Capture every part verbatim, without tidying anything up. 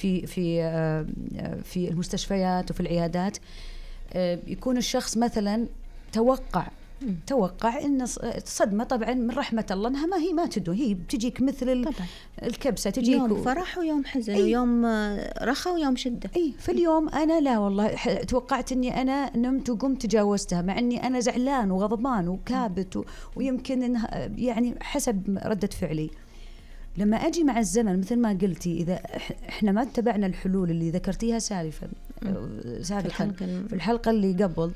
في في في المستشفيات وفي العيادات يكون الشخص مثلا توقع توقع إن الصدمة طبعا من رحمة الله إنها ما هي ما تدو، هي بتجيك مثل الكبسة، تجيك يوم فرح ويوم حزن، أي ويوم رخاء ويوم شدة. أي في اليوم أنا لا والله توقعت إني أنا نمت وقمت تجاوزتها، مع إني أنا زعلان وغضبان وكابت و... ويمكن إنها يعني حسب ردة فعلي. لما أجي مع الزمن مثل ما قلتي، إذا إحنا ما اتبعنا الحلول اللي ذكرتيها سالفا سابقا في الحلقة اللي قبل،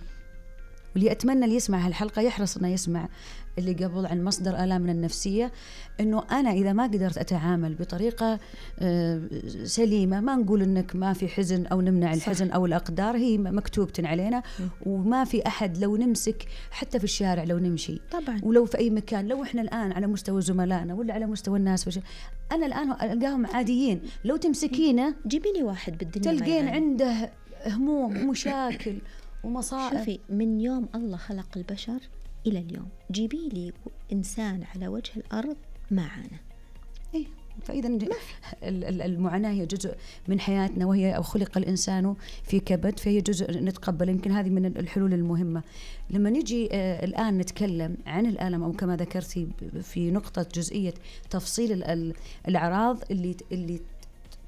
واللي أتمنى اللي يسمع هالحلقة يحرص أنه يسمع اللي قبل عن مصدر آلامنا النفسية، أنه أنا إذا ما قدرت أتعامل بطريقة سليمة، ما نقول أنك ما في حزن أو نمنع الحزن صح. أو الأقدار هي مكتوبة علينا، وما في أحد لو نمسك حتى في الشارع لو نمشي طبعا، ولو في أي مكان، لو إحنا الآن على مستوى زملائنا ولا على مستوى الناس فش... أنا الآن ألقاهم عاديين، لو تمسكينه جيبيني واحد بالدنيا تلقين عنده هموم ومشاكل ومصائب. شوفي، من يوم الله خلق البشر إلى اليوم جيبي لي إنسان على وجه الأرض ما عانى. إيه، فإذا المعاناة هي جزء من حياتنا، وهي أو خلق الإنسان في كبد، فهي جزء نتقبل. يمكن هذه من الحلول المهمة. لما نجي آه الآن نتكلم عن الألم، أو كما ذكرتي في نقطة جزئية تفصيل الأعراض اللي اللي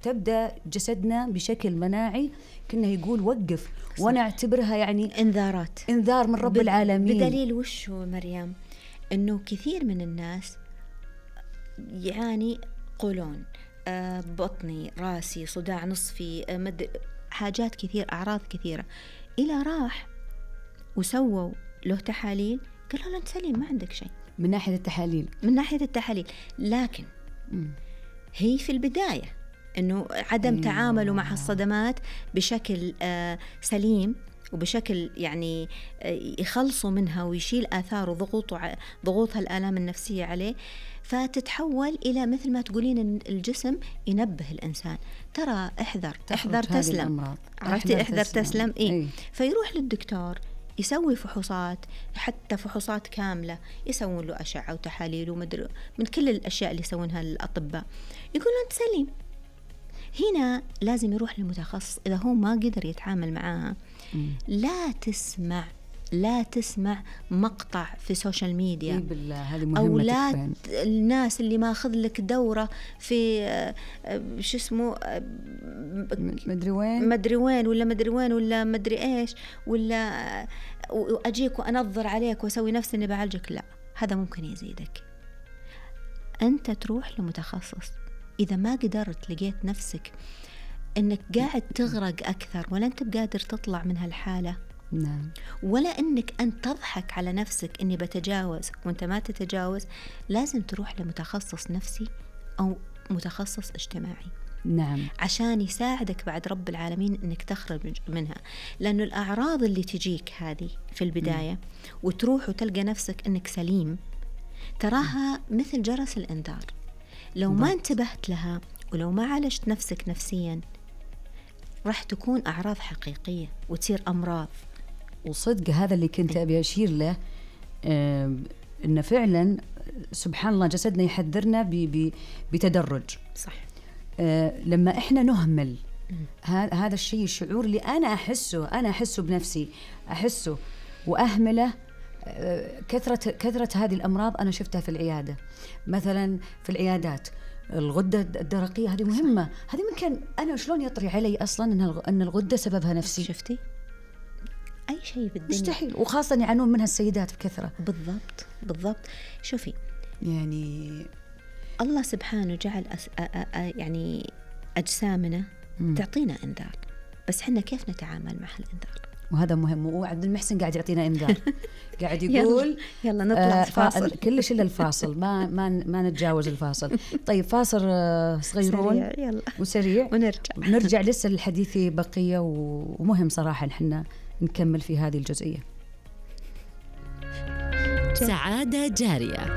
تبدأ جسدنا بشكل مناعي كنا يقول وقف، وأنا أعتبرها يعني إنذارات، إنذار من رب العالمين. بدليل وش هو مريم؟ إنه كثير من الناس يعني قولون آه بطني، راسي، صداع نصفي، آه مد... حاجات كثير، أعراض كثيرة، إلى راح وسووا له تحاليل قالوا له أنت سليم ما عندك شيء من ناحية التحاليل من ناحية التحاليل لكن م. هي في البداية إنه عدم أيوة. تعامله مع الصدمات بشكل آه سليم وبشكل يعني آه يخلصوا منها ويشيل آثار وضغوطه ضغوطها الآلام النفسية عليه، فتتحول إلى مثل ما تقولين إن الجسم ينبه الإنسان ترى احذر احذر تسلم، عرفتي احذر تسلم, تسلم. إيه؟ إيه؟ فيروح للدكتور يسوي فحوصات، حتى فحوصات كاملة، يسوون له أشعة وتحاليل ومدر من كل الأشياء اللي يسوونها الأطباء، يقولون أنت سليم. هنا لازم يروح للمتخصص إذا هو ما قدر يتعامل معاها. لا تسمع لا تسمع مقطع في سوشيال ميديا أو لا الناس اللي ما أخذ لك دورة في شو اسمه مدري وين مدري وين ولا مدري وين ولا مدري إيش، ولا أجيك وأنظر عليك وأسوي نفسي إني بعالجك. لا، هذا ممكن يزيدك. أنت تروح لمتخصص. إذا ما قدرت لقيت نفسك إنك قاعد تغرق أكثر ولا أنت بقادر تطلع من هالحالة، نعم، ولا إنك أنت تضحك على نفسك إني بتجاوز وأنت ما تتجاوز، لازم تروح لمتخصص نفسي أو متخصص اجتماعي. نعم، عشان يساعدك بعد رب العالمين إنك تخرج منها. لأنه الأعراض اللي تجيك هذه في البداية م. وتروح وتلقى نفسك إنك سليم، تراها م. مثل جرس الإنذار. لو ما انتبهت لها ولو ما عالجت نفسك نفسيا راح تكون أعراض حقيقية وتصير أمراض. وصدق هذا اللي كنت أبي أشير له، آه إن فعلا سبحان الله جسدنا يحذرنا بتدرج. صح. آه لما إحنا نهمل هذا الشيء، الشعور اللي أنا أحسه أنا أحسه بنفسي أحسه وأهمله، آه كثرة كثرة هذه الأمراض أنا شفتها في العيادة. مثلا في العيادات الغدة الدرقية هذه مهمة، هذه ممكن أنا شلون يطري علي أصلا أن الغدة سببها نفسي؟ شفتي؟ أي شيء بالدنيا مستحيل، وخاصة يعانون منها السيدات بكثرة. بالضبط بالضبط. شوفي يعني الله سبحانه جعل أس... أ... أ... أ... يعني أجسامنا م. تعطينا إنذار، بس حنا كيف نتعامل مع هالإنذار؟ وهذا مهم. وعبد المحسن قاعد يعطينا إنذار قاعد يقول يلا, يلا نطلع آه فاصل. كلش إلا الفاصل، ما ما ما نتجاوز الفاصل. طيب فاصل آه صغيرون يلا. وسريع ونرجع نرجع لسه الحديث بقية، ومهم صراحة نحن نكمل في هذه الجزئية. سعادة جارية